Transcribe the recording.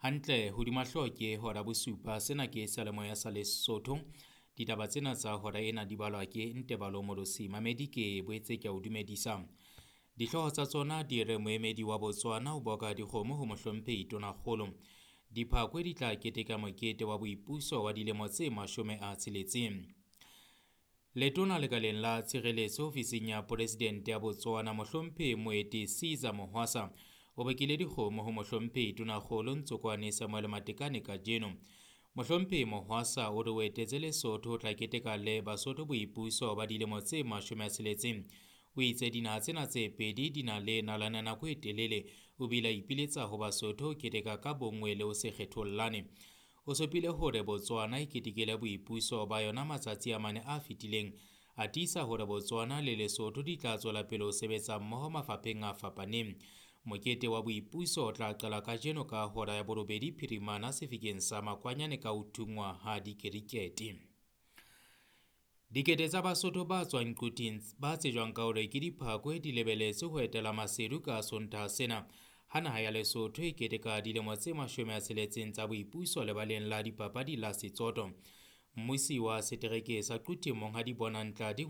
Hantle hodima hlooho ke hora bosupa. Sena ke seyalemoya sa Lesotho. Ditaba tsena tsa hora ena di balwa ke Ntebalo Molosi. Mamedi ke boetse ke a o dumedisa. Dihlooho tsa tsona di re moemedi wa Botswana o boka dikgomo ho mohlomphehi Tonakgolo. Diphakwe di tla keteka mokete wa boipuso wa dilemo tse 60. Letona lekaleng la tshireletso ofising ya Poresidente ya Botswana mohlomphehi Moeti Caesar Mohwasa o bakile dikgomo ho mohlomphehi Tonakgolo Ntsokoane Samuel Matekane kajeno. Mohlomphehi Mohwasa o re o etetse Lesotho ho tla keteka le Basotho boipuso ba dilemo tse 60. O itse dinaha tsena tse pedi di na le nalane nako e telele. O bile a ipiletsa ho Basotho ho keteka ka bonngwe le ho se kgethollane. O supile hore Botswana e ketekile boipuso ba yona matsatsi a mane a fetileng. A tiisa hore Botswana le Lesotho di tla tswela pele ho sebetsa mmoho mafapheng a fapaneng. Mokete wa boipuso o tla qala kajeno ka hora ya 8 phirimana sefikeng sa Makwanyane ka ho thungwa ha dikerikete. Dikete tsa Basotho ba tswang Quthing ba tsejwang ka hore ke diphakwe di lebeletse ho etela Maseru ka Sontaha sena. Ha naha ya Lesotho e keteka dilemo tse 60 tsa boipuso lebaleng la dipapadi la Setsoto. Mmusi wa setereke sa Quthing Monghadi Bonang Tladi